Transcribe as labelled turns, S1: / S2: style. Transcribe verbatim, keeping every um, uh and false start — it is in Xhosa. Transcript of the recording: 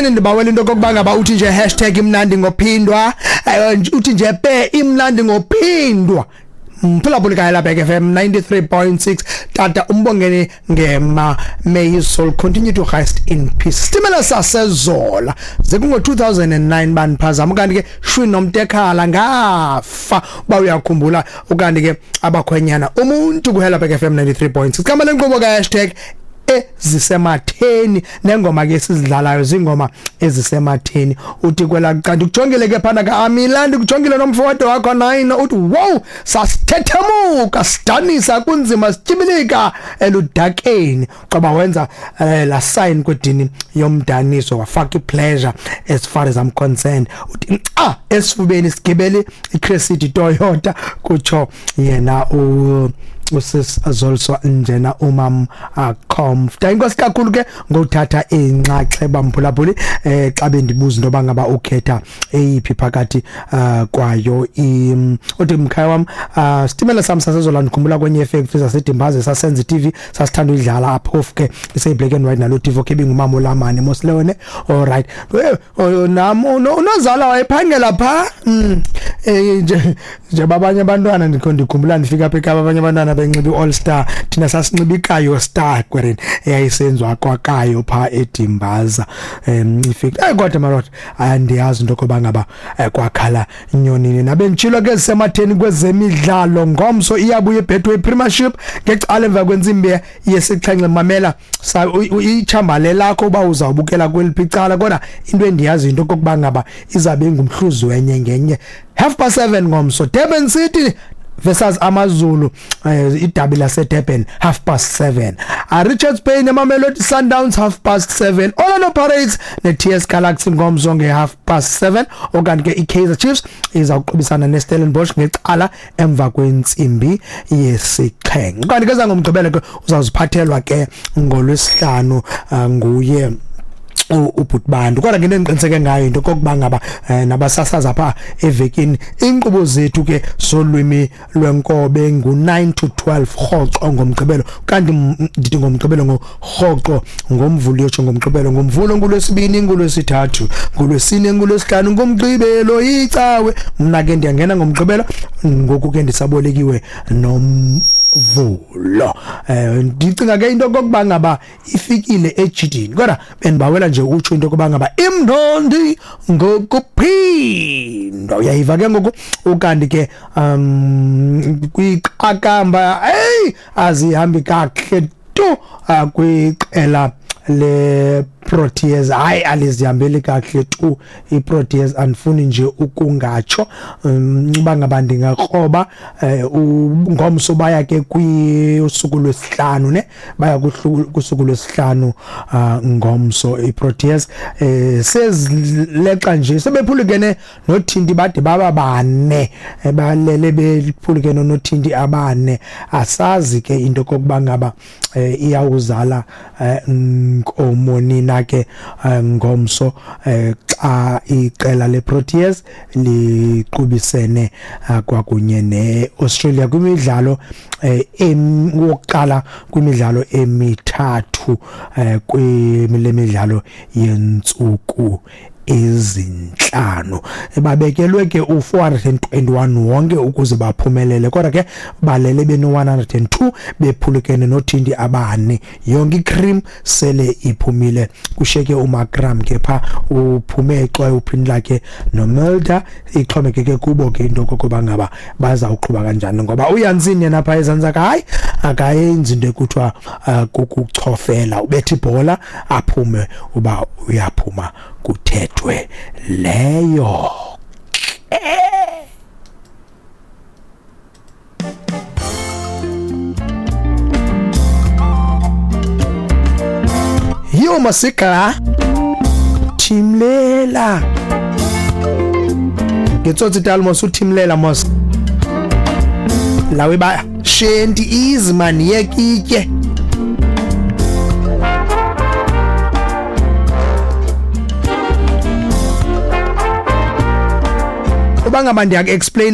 S1: Sematheni ndibawela into kokuba ngaba uthi nje hashtag imnandi ngophindwa, uthi nje pe imnandi ngophindwa. Mphulaphuli kaya Black F M ninety-three point six tata umbongeni ngema, may his soul continue to rest in peace. Sitimela sasezola zekungo two thousand nine baniphazama kanti ke shwi nomtekhala ngafa uba uyakhumbula ukanti ke abakhwenyana umuntu kuhela Black F M ninety-three point six. Kama lenkqubo ka hashtag ezisematheni nengoma ke sizidlalayo zingoma ezisematheni. Uthi kwela kanti kujongile ke phana ka Amilandi kujongile nomfowethu wakho nine uthi wow sasithethemuka sidanisa kunzima sityibilika eludakeni qoba wenza eh, la sign kwedini yomdaniso wafaka ipleasure as far as I'm concerned. Uthi ah esifubeni sigibele iCrescent Toyota kutsho yena u usis azolso njena umam comfort. Inkosi kakhulu ke ngothatha inxaxheba mphulaphuli eh xa bendibuza into bangaba ukhetha eyiphi phakathi kwayo. Uthi mkhaya wam sitimela sam sasezola ndikhumbula kwenye effect zaseDimbaze sasenza i-T V sasithanda uyidlala apho ke ise black and white nalo T V ke bingumama olamane mosleone. All right nam unozala wayephangela pha eh nje babanye abantwana ndikho ndikhumbula ndifika apha eKapa abanye abantwana benxiba i-All Star thina sasinxiba iKayo Star kwereni eyayisenziwa kwaKayo pha eDimbaza. Em ifika eh kodwa marot andiyazi into koba ngaba kwakhala nyonini nabentshilo ke sematheni kwezemidlalo. Ngomso iyabuya iBetway Premiership ngecala emva kwentsimbi yesixhenxe. Mamela ichambale lakho uba uzawubukela kweliphi icala kodwa into endiyazi into kokuba ngaba izabe ingumhluzi wenye ngenye. Half past seven ngomso Durban City versus AmaZulu, idabi lase Durban half past seven. Uh, Richards Bay neMamelodi Sundowns half past seven. Orlando Pirates ne T S Galaxy ngomso nge half past seven. Okanti ke iKaizer Chiefs izawuqubisana neStellenbosch ngecala emva kwentsimbi yesixhenxe. Kanti ke zangomgqibelo ke uzawuziphathelwa ke ngolwesihlanu nguye ubhutbantu. Kodwa ke endiqiniseke ngayo into kokuba ngaba nabasasaza pha evekini inkqubo zethu ke solwimi lwenkobe ngu nine to twelve rhoqo ngomgqibelo. Kanti ndithi ngomgqibelo ngorhoqo ngomvulo yotsho ngomgqibelo ngomvulo ngolwesibini ngolwesithathu ngolwesine ngolwesihlanu ngomgqibelo icawe. Mna ke ndiyangena ngomgqibelo ngoku ke ndisabolekiwe nom vulo. Eh ndicinga ke into kokuba ngaba ifikile ejidini kodwa bendibawela nje utsho into kokuba ngaba imnandi ngokuphindwa. Uyayiva ke ngoku ukanti ke um kwiqakamba hey azihambi kakuhle tu kwiqela le Proteas. Hayi alizihambeli kakuhle tu iProteas, andifuni nje ukungatsho uba ngaba ndingakroba. Ngomso baya ke kwisuku lwesihlanu ne baya kusuku lwesihlanu ngomso iProteas sezileqa nje sebephulukene nothinti bade baba bane balele bephulukene nothinti abane. Asazi ke into kokuba ngaba iyawuzala nkomo nina ke ngomso xa iqela leProteas liqubisene kwakunye neAustralia kwimidlalo wokuqala kwimidlalo emithathu kwemidlalo yentsuku ezinhlanu. Babekelwe ke u four hundred twenty-one wonke ukuze baphumelele kodwa ke balele beno one hundred two bephulukene nothinti abane. Yonke icream sele iphumile kusheke uMakram ke pha uphume exwaye uphini lakhe noMulder. Ixhomekeke kubo ke into kokuba ngaba bazawuqhuba kanjani ngoba uYansin yena pha ezantsi hayi akayenzi into ekuthiwa kukuchofela ubetha ibhola aphume uba uyaphuma kuthethwe leyo. Yo masika Thimlela ngetsotsi talmos uThimlela mos lawe ba shenti izman yekitye. Uba ngaba ndiyaku explain